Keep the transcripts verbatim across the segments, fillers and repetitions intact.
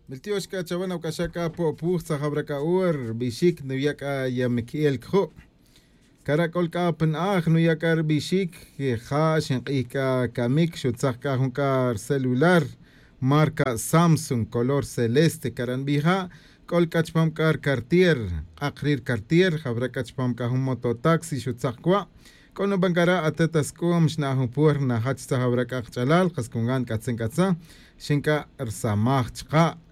Miltiox c'a chawe nawc'axaj c'a po'puj tzajawra c'a ur bixic nuya' c'a ya miqui'el cju'. Cara' c'ol c'a pa na'aj nuya' c'a ri bixic ja xink'ij c'a camic xutzak c'a jun c'a ri celular marca samsung color celeste cara' nbij ja'. C'ol c'a chupam c'a ri cartier k'ak ri ri cartier jawra c'a chupam c'a jun mototaxi xutzak cua'. C'o nuban cara' atet asc'um xna' jun puer najach tzajawra c'a kach'alal kas cungan c'atzin c'atza. Xin c'a ri samaj chka'.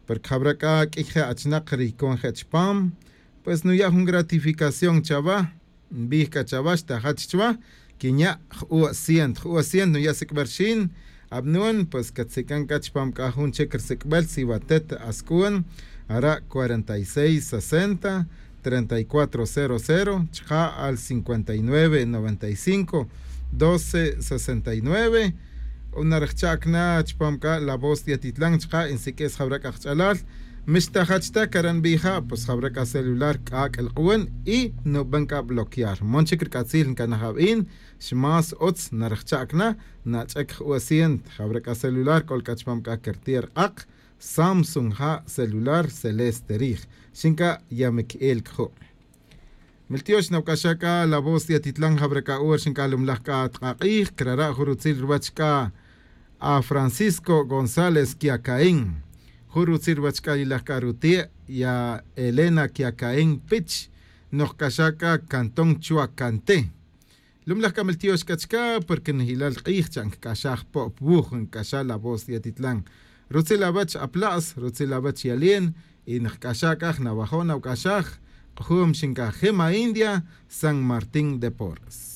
Porque jawra c'a q'uiy je' achinak ri con je' chupam pues nuya' jun gratificación chawa. Nbij c'a chawa xtajach chuwa quinya' ju'o' cient ju'o' cient nuya' sic'bel rixin. Abnun pues catzic'an c'a chupam c'a jun chic ri sic'bel si watet asc'un ara' cuarenta y seis sesenta treinta y cuatro cero cero chka' al cincuenta y nueve noventa y cinco doce sesenta y nueve. Narajchac na chupam c'a la voz yatitlan chka' insiq'uis jawra c'a kach'alal. Mixtajach ta cara' nbij ja' pues jawra c'a celular c'ac' lk'uun y nuban c'a bloquear mon chic ri c'atzil ncanaj abin. Xmas utz narajchac na nach'ec ju'o' cient jawra c'a celular c'ol c'a chupam c'a cartier k'ak samsung ja' celular celeste rij. Xin c'a ya miqui'el cju'. Miltiox nawc'axaj c'a la voz yatitlan jawra c'a ur xin c'a lumlaj c'a tk'ak'ij crara' jun rutzil ruwach c'a a francisco gonzález quiacaín. Jun rutzil ruwach c'a yilaj c'a ruti' ya elena quiacaín pich. Nojc'axaj c'a cantón chua cante. Lumlaj c'a miltiox c'a chca porque nijilal k'ij cha' ncac'axaj po'p wuj ncac'axaj la voz yatitlan. Rutzil awech apla's rutzil awech yalin. Y nijc'axaj c'a jnawajo' nawc'axaj k'ujum xincajim a india san martín de porras.